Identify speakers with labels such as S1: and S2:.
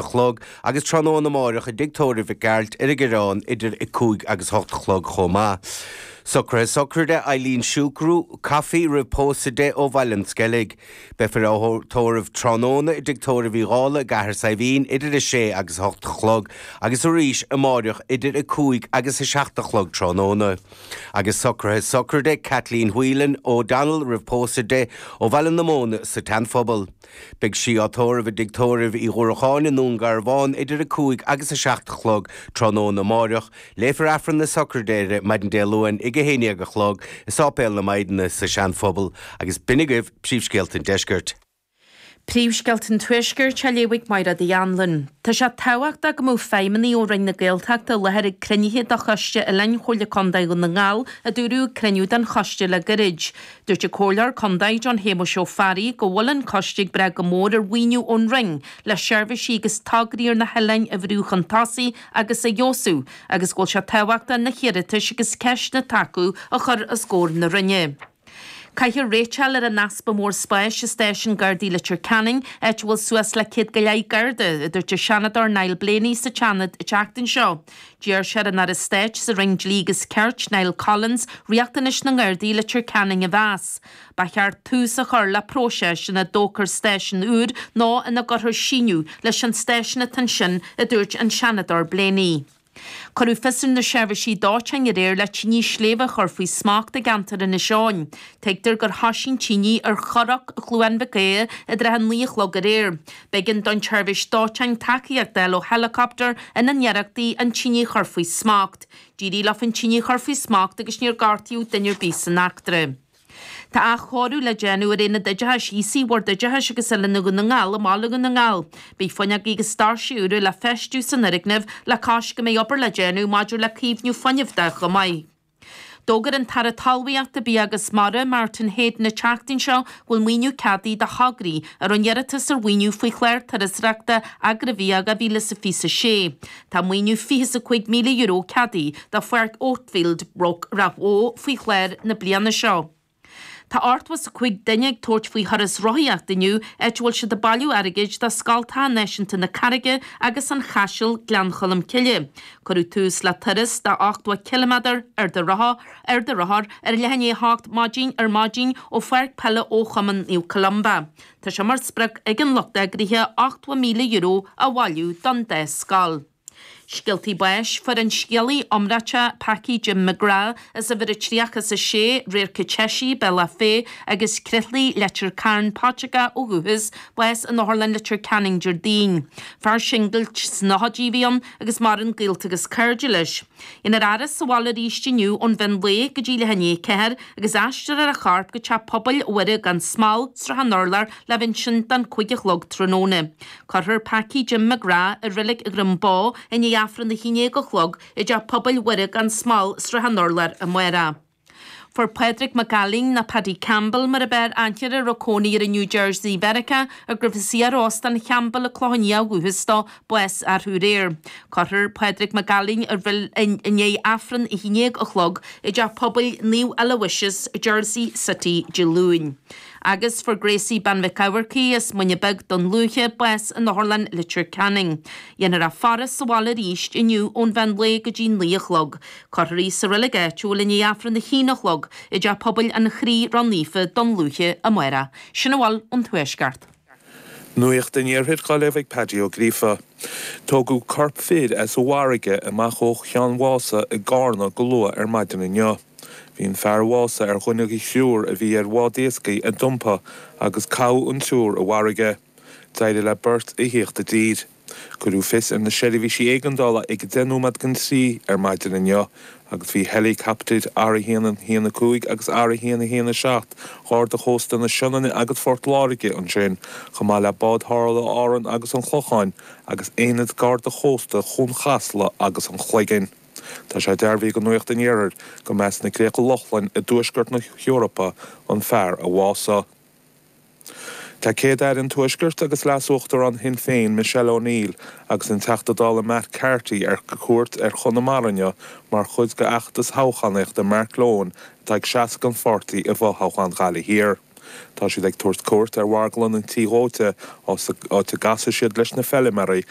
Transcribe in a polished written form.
S1: chlog agus tráthnóna amáireach i dTigh Tórraimh Mhic Gearailt ar an gCoireán idir 5 agus 8 a chlog chomh maith. Socruithe Sochraide Eileen Siúcrú, Coffey roimh pósadh di ó Bhaile an Sceilg. Beifear á tórramh tráthnóna i dTigh Tórraimh Uí Dhálaigh i gCathair Saidhbhín idir 6 agus 8 a chlog agus arís amáireach idir 5 agus 7 a chlog tráthnóna. Agus socruithe sochraide Kathleen Whelan O'Donnell roimh pósadh di ó Bhaile na Móna sa tSeanphobal. Beidh sí á tórramh i dTigh Tórraimh Uí Dhúracháin i nDún Garbhán idir 5 agus 7 a chlog tráthnóna amáireach. Léifear Aifreann na sochraide uirthi maidin Dé Luain ag 11 a chlog i Sáipéal na Maighdine sa Seanphobal agus b'in agaibh príomhscéalta an deiscirt.
S2: Príomhscéalta an Tuaiscirt á léamh ag Mairéad Uí Anluain. Tá sé tábhachtach go mbeadh feidhmeannaigh ó Roinn na Gaeltachta i láthair ag cruinnithe de Choiste Oileáin Chomhairle Contae Dhún na nGall, a dúradh ag cruinniú den choiste le gairid. Dúirt an Comhairleoir Contae John Shéamuis Ó Fearraigh go bhfuil an coiste ag brath go mór ar mhaoiniú ón Roinn le seirbhísí agus tograí ar na hoileáin a bhrú chun tosaigh agus a fheabhsú agus go bhfuil sé tábhachtach na hiarratais agus ceisteanna atá acu a chur os comhair na Roinne. Caithfear réiteáil ar an easpa mór spáis i stáisiún Gardaí Leitir Ceanainn, áit a bhfuil suas le 100 go leith Garda, a dúirt an Seanadóir Niall Blaney sa tSeanad an tseachtain seo. D'iarr sé ar an Aire Stáit sa Roinn Dlí agus Cirt, Niall Collins, riachtanais na nGardaí i Leitir Ceanainn a mheas. Ba cheart tús a chur le próiseas ina dtógfar stáisiún úr nó ina gcuirfear síneadh leis an stáisiún atá ansin, a dúirt an Seanadóir Blaney. Cuireadh fios ar na seirbhísí dóiteáin aréir le tine sléibhe a chur faoi smacht i gceantar Inis Eoghain. Tuigtear gur thoisigh an tine ar Chnoc Chluain Mhic Aodha i dtrátha a 9 a chlog aréir. B'éigean don tseirbhís dóiteáin tacaíocht a fháil ó heileacaptar ina n-iarrachtaí an tine a chur faoi smacht. D'éirigh leo an tine a chur faoi smacht agus níor gortaíodh duine ar bith san eachtra. Tá athchóiriú le déanamh ar Aonad Oideachais Aosaigh Bhord Oideachais agus Oiliúna Dhún na nGall i mbaile Dhún na nGall. Beidh fuinneogaí agus doirse úra le feistiú san fhoirgneamh le cois go mbeidh obair le déanamh maidir le caomhnú fuinnimh de chomh maith. D'fhógair an tAire Talmhaíochta, Bia agus Mara, Martin Heydon an tseachtain seo go bhfuil maoiniú ceadaithe do thograí a rinne iarratas ar mhaoiniú faoi chlár turasóireachta Agraibhia 2026. Tá maoiniú €25,000 ceadaithe do Pháirc Oatfield, Ráth Bhoth faoi chlár na bliana seo. Tá 85 duine ag tabhairt faoi thuras rothaíochta inniu, áit a bhfuil siad ag bailiú airgid do Scoltacha Náisiúnta na Carraige agus an Chaisil, Gleann Cholm Cille. Cuireadh tús le turas de 80 ciliméadar ar do rothar ar do rothar ar leath i ndiaidh a hocht maidin ar maidin ó Pháirc Peile Fho-Chumann Naomh Columba. Tá sé mar sprioc ag an lucht eagraithe €80,000 a bhailiú don dá scoil. Scéaltaí báis, Fuair an scéalaí iomráiteach Packie Jim McGrath as uimhir a 36, Radharc an tSeisigh, Bealach Féich, agus Croithlí, Leitir Cairn, Paiteagó ó dhúchas, bás in Otharlann Leitir Ceanainn Déardaoin. Fear singil sna nóchaidí a bhí ann agus maireann gaolta agus cairde leis. Déanfar a fhaire sa bhaile arís inniu ón mheán lae go dtí leath i ndiaidh a ceathair agus aistreofar a chorp go Teach Pobail Mhuire gan Smál, Srath an Urláir le bheith ansin don 5 a chlog tráthnóna. Cuirfear Packie Jim McGrath i Reilig Dhroim Bó i ndiaidh Aifreann 11 a chlog i dTeach Pobail Mhuire gan Smál, Srath an Urláir amárach. Fuair Pádraig Mac Ailín, nó Paddy Campbell mar ab fhearr aithne air, a raibh cónaí air i New Jersey Mheiriceá, ach gurbh as iar-Óstán Champbell i Cloich Cheann Fhaola ó dhúchas dó, bás arú aréir. Cuirfear Pádraig Mac Ailín i ndiaidh Aifreann 11 a chlog i dTeach Pobail Naomh Aloysius, Jersey City, Dé Luain. Agus fuair Gracie Bean Mhic Eamharcaigh as Muine Bheag, Dún Lúiche, bás in Otharlann Leitir Ceanainn. Dhéanfar a faire sa bhaile arís inniu ón mheán lae go dtí 9 a chlog. Cuirfear í sa reilig áitiúil i ndiaidh Aifreann 1 a chlog i dTeach Pobail an Chroí Ró-Naofa, Dún Lúiche, amárach. Sin a bhfuil ón Tuaisceart.
S3: Nuacht an Iarthair á léamh ag Paddy Ó Gríofa. Tógadh corp fir as an bhfarraige amach ó Cheann Mhása i gCarna go luath ar maidin inniu. Bhí an fear a bhásaigh ar dhuine de thriúr a bhí ar bhád iascaigh a d'iompaigh agus caitheadh an triúr i bhfarraige. D'éirigh le beirt a thíocht i dtír. Cuireadh fios ar na seirbhísí éigeandála ag 10 nóiméad don trí ar maidin inniu agus bhí heileacaptair R1 1 5 agus R1 1 7 Gharda Chósta na Sionainne agus Phort Láirge ansin, chomh maith le báid tharrthála Árann agus an Chlocháin agus Aonad Garda Chósta Chuan Chasla agus an Chloiginn. Tá sé dearbhaithe do Nuacht an Iarthair go mba as na Críocha Lochlann i dtuaisceart na hEorpa an fear a bhásaigh. Tá Céad-Aire an Tuaiscirt agus Leas-Uachtarán Shinn Féin Michelle O'Neill agus an Teachta Dála Matt Carthy ar cuairt ar Chonamara inniu mar chuid d'fheachtas toghchánaíochta Mark Lohan atá ag seasamh don pháirtí i bhfothoghchán Ghaillimh Thiar. Tá siad ag tabhairt cuairt ar mharglann an Tí Dhóite, áit a gcasfaidh siad leis na feiliméaraí.